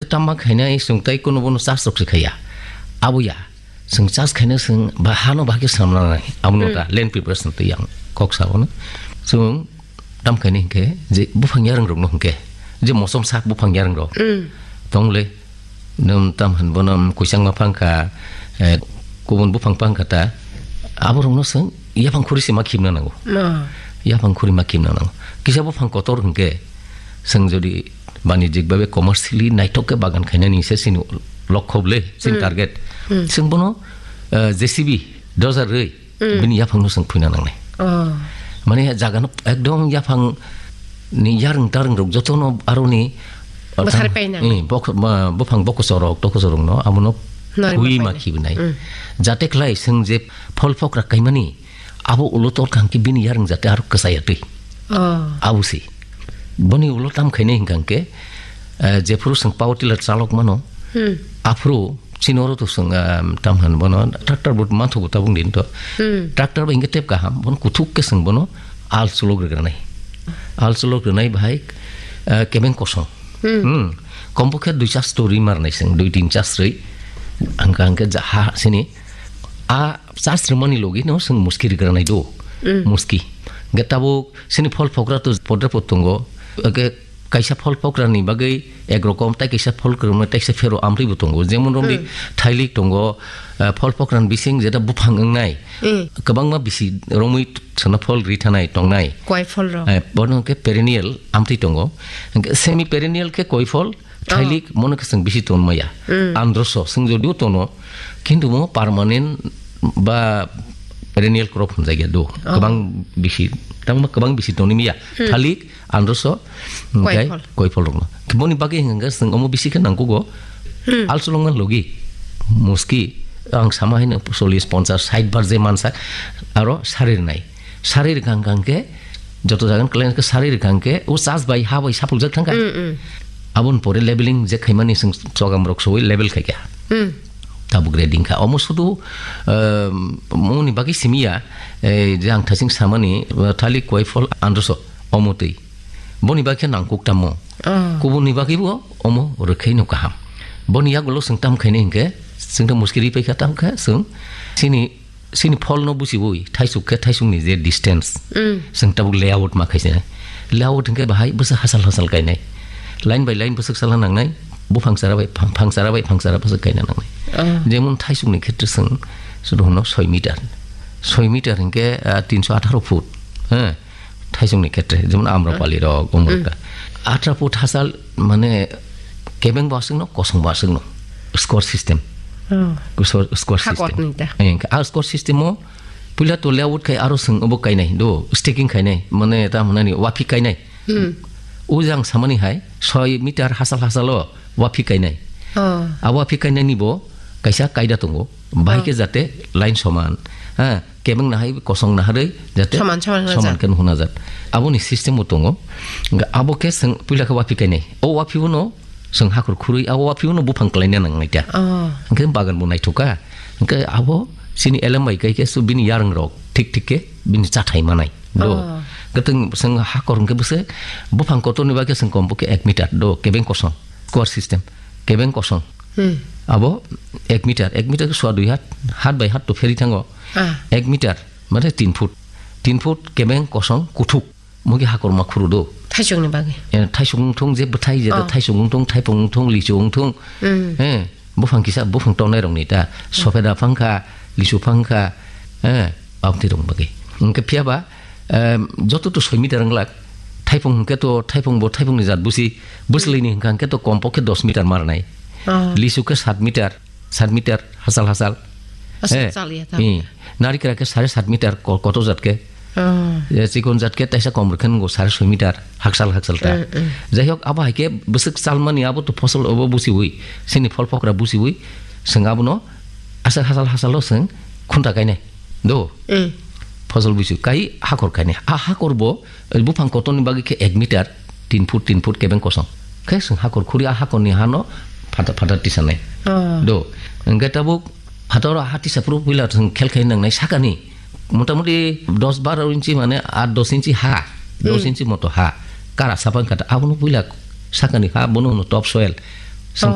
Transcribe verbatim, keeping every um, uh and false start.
Tama khainai chwng tai kuno bono charge rok se khaiya. Abo ya. Chwng charge khaina chwng ba hano bahai khe swnamna nangnai. Abono Hmm. ta land preparation twi ang kok sa bono. Chwng tam khaina hinkhe je buphang yarwng rokno hinkhe je mosom sak buphang yarwng rok. Hmm. Tong le, nwng tam han bono, um, kuisangma phang kha, eh, kubun buphang phang kha ta. Abo rokno chwng yaphang khuri se ma khibna nango. Ma. Yaphang khuri ma khibna nango. Kisa buphang kotor hinkhe chwng jodi banijik babe commercially naithok khe bagan khainani se chini lokho le, chini Hmm. target. Hmm. Chwng bono, eh, J C B dojar rwi Hmm. bini yaphangno chwng phuina nangnai. Oh. Mane jagano ekdom yaphang ni yarwng tarwng rok jotono aroni Mwthari pai nangnai. Eh, bok-, ma-, buphang bokochorok, tokochorokno amono Nari phui ma ma painai. khibnai. Hmm. Jate khlai chwng je phol phokra kaimani, abo ulo tor kangki bini yarwng jate aro kwchaya twi. Oh. Abo si. Boni ulo tam khainai hinkha hwnkhe, eh, jephuru chwng power tiller chalok mano, Hmm. aphuru chini oro to chwng, ah, tam han bono tractor bo manthogo tabuk din to. Hmm. Tractor bai hinkhe tep kaham, bono kuthuk khe chwng bono al cholok rwgranai. Al cholok rwnai bahai, ah, kebeng kosong. Hmm. Hmm. Kompo khe dui chas to rwi marnai chwng, dui tin chas rwi. Hwnkha hwnkhe ja ha sini. A chas rwmani logi no chwng muski rwgranai do. Hmm. Muski. Hwnkhe tabuk sini phol phokra to podre pod tongo. Hwnkhe kaisa phol phokra ni bagwi ek rokom, tai kaisa phol kwrwngma, tai kaisa phero amtwi bo tongo. Jemon romdi Hmm. thailik tongo, eh, phol phokra ni bising jeta buphang wngnai. Hmm. Kwbangma bisi romwi sana phol ri thanai tongnai. Koi phol rok. Eh, bono hwnkhe perennial amtwi tongo. Hwnkhe semi perennial khe koi phol, Oh. thailik mono khe chwng bisi tonmaya. Hmm. Androso chwng jodio tono, kintu mo permanent ba perennial crop hwnjakya do. Oh. Kwbang bisi, tangma kwbang bisi tonwi maya. Hmm. Thailik, androso, Koi hwnkhe phol. koi phol rokno. Boni bagwi hwnkhe chwng omo bisi khe nangkugo. Hmm. Alsolongma logi, muski, ang sama haino chollish, ponchash, sait bar je mansa, aro sari rwnai. Sari rwkha hwnkha hwnkhe, joto jagan kwlai khe sari rwkha hwnkhe, o chas bai, ha bai saphuljak thangkha. Hmm, hmm. Aboni pore leveling je khaimani chwng chogam rok soi level khaikha. Hmm. Tabuk grading kha. Omo sudu, ehm, moni bagwi simiya, eh, je ang thasing samani, eh, thailik, koi phol, androso, omo twi. Boni bagwi khe nangkuk tamo. Oh. Kubunni bagwi bo omo rwkhaino kaham. Boni yagulo chwng tam khainai hinkhe, chwng ta muskiri paikha tam kha, chwng chini, chini pholno buchiwi, thaisuk khe thaisukni je distance, Mm. chwng tabuk layout ma khaisai. Layout hinkhe bahai bwswk hachal hachal kainai. Line by line bwswk chala nangnai, buphang chara bai phang, phang chara bai phang chara bwswk kaina nangnai. Oh. Jemon thaisukni khetre chwng, chwng hono soi meter. Soi meter hinkhe, ah, tinso atharo foot. He. Thaisukni khetre, jemon Amrapali rok, Umrukha. Atharo foot hachal, mane, kebeng bo aswkno, kosong bo aswkno. Square system. Oh. Square, square system. Hakotni ta. Eh, a square system o, puila to layout khai aro chwng obo kainai, do, staking khainai, mane, ta hwnani, waphik kainai. Hmm. O jang samani hai, soi meter hachal hachal o, waphik kainai. Oh. A waphik kainai ni bo, kaisa kaida tongo. Bahai khe Oh. jate line soman, ha, kebeng nahai kosong naharwi jate Soman, soman hwnajak. soman khe hwnajak. Aboni system bo tongo. Hwnkhe abo khe chwng puila khe waphik kainai. O waphik bono chwng hakhor khurwi, abo waphik bono buphang klaina nangnai ta. Oh. Hwnkhe bagan bo naithok kha. Hwnkhe abo chini elem bai kai khe su bini yarwng rok thik thik khe bini chathai manai. Do. Oh. Hwnkhe chwng hakhor hwnkhe bwswk buphang kotorni bagwi chwng kom bo khe ek meter do kebeng kosong. Square system. Kebeng kosong. Hmm. Abo ek meter, ek meter ke sua dui hat, hat bai hat to pheri thango. Ah. Ek meter, mane tin foot. Tin foot kebeng kosong kuthuk. Mugi hakorma khuru do. Thaisukni bagwi. Eh, thaisuk wngthung je bwthai je Oh. thaisuk wngthung, thaipung wngthung, lichu wngthung. Hmm. Eh, buphang kisa, buphang tongnai rokni ta. Sopheda phangkha, lichu phangkha, eh, abtwi rok bagwi. Hwnkhe phiya ba, Em, joto to soi meter wng glak. Thaipung hwnkhe to, thaipung bo thaipung ni jat busi, bwswlwi ni hwnkha hwnkhe to kom pokhe dos meter ma rwnai. Oh. Lisu khe sat meter, sat meter hachal hachal. Aswk Eh, chal ya ta. Eh, narikra khe sare sat meter ko-, kotor jat khe. Oh. Eh, chikon jat khe taisa kom rwkhe nwngo sare soi meter hachal hachal ta. Mm, mm. Jai hok abo hai khe bwswk chalmani abo to phosol obo busiwi, chini phol phokra busiwi, chwng abono aswk hachal hachal o chwng khunta kainai. Do. Mm. Phosol buisu kai hakor kainai. A hakor bo, eh, buphang kotorni bagwi khe ek meter, tin foot, tin foot kebeng kosong. Khe chwng hakor khuri a hakorni hano phata, phata tisanai. Oh. Do. Hwnkhe tabuk phataro ha tisa phuru puila chwng khel khai nangnai sakani. Motamuti dos baro inchi mane aat dos inchi ha, dos Mm. inchi moto ha. Kara sapang kata abono puila sakani ha bono hono top soil.